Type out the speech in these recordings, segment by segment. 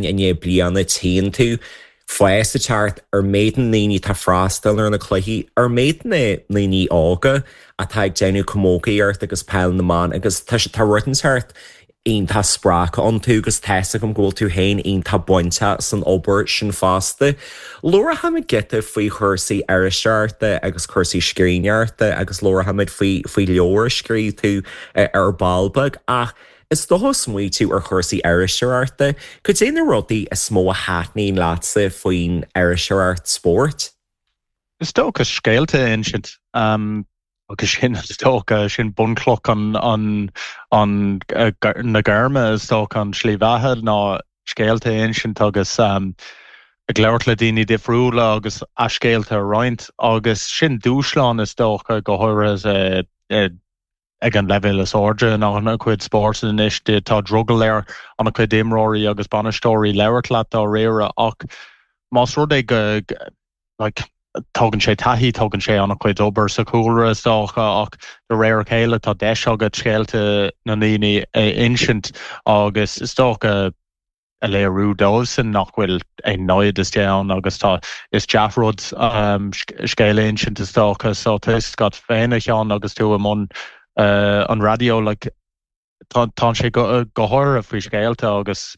I ndiaidh bliana tchíonn tú fás ag teacht ar méid na ndaoine atá ag freastal ar na cluichí, ar méid na ndaoine óga atá ag déanamh camógaíocht agus peil na mban agus tá tá rud inteacht iontach spreagtha iontu agus tá's agam go bhfuil tú féin iontach bainteach san obair sin fosta. Labharfaimid giota faoi chúrsaí iriseoireachta agus cúrsaí scríbhneoireachta agus labharfaimid faoi faoi leabhar a scríobh tú ar ball beag ach Is dócha smaoitiú ar chúrsaí iriseoireachta, cad é na rudaí is mó a thaitníonn leatsa faoin iriseoireacht spóirt? Is dócha scéalta a insint agus sin is dócha, sin bunchloch an, an, an, na gairme is dócha, an tslí bheatha ná scéalta a insint agus ag labhairt le daoine difriúla agus a scéalta a roinnt agus sin dúshlán is dócha go háirithe ag an leibhéal is airde in an-chuid spórt anois. Tá drogall ar an-chuid imreoirí agus bainisteoirí labhairt leat dáiríre ach más rud é go like tógann sé taithí, tógann sé an-chuid obair sa chúlra is dócha ach de réir a chéile tá deis agat scéalta na ndaoine a insint agus is dócha a léiriú dóibhsan nach bhfuil aon namhaid istigh ann agus tá, is dea-rud scéal a insint is dócha so tá fhios agat féin a Sheáin agus tú i mbun an raidió like tá tá sé go go háirithe faoi scéalta agus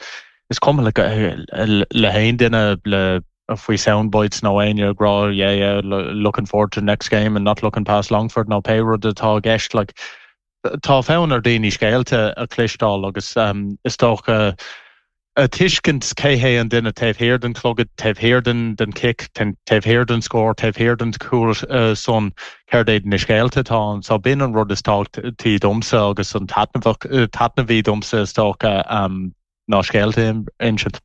is cuma le le haon duine le faoi soundbites nó éinne ag rá yeah yeah looking forward to the next game and not looking past Longford nó pé rud atá i gceist like Tá fonn ar daoine scéalta a chloisteáil agus is dócha a tuiscint cé hé an duine taobh thiar den chlogad, taobh thiar den chic, taobh thiar den scór, taobh thiar den chúl san, céard iad na scéalta atá ann. So b'in an rud is tábhachtaí domsa agus an taitneamhaí domsa is dócha. ná scéalta a insint.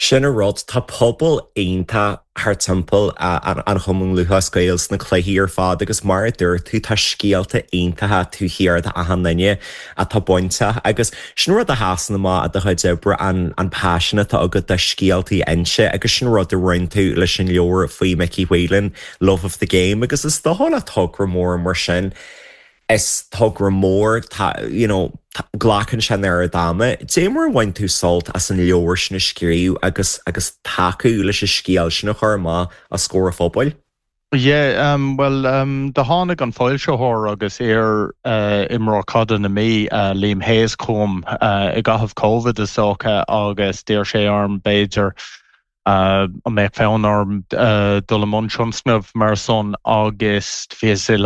Sin an rud, tá pobal iontach thar timpeall an Chumann Lúthchleas Gael sna cluichí ar fad agus mar a dúirt tú, tá scéalta iontacha taobh thiar d'achan duine atá bainteach agus sin rud a sheasann amach i do chuid oibre, an paisean atá agat do scéaltaí a inse agus sin rud a rinne tú leis an leabhar faoi Mickey Whelan, Love of the Game agus is dócha le togra mór mar sin, Is togra mór, tá, you know, glacann sé an oiread ama. Dé mar a bhain tú sult as an leabhar sin a scríobh agus agus tacú leis an scéal sin a chur amach os comhair an phobail? Yeah, um, bhuel, um, do tháinig an foilsitheoir agus iar uh, imreoir caide na Mí, uh, Liam Hayes chugam uh, i gcaitheamh Covid is dócha agus d'iarr sé orm b'fhéidir uh, an mbeadh fonn orm uh, dul i mbun tionscnamh mar san agus bhíos i.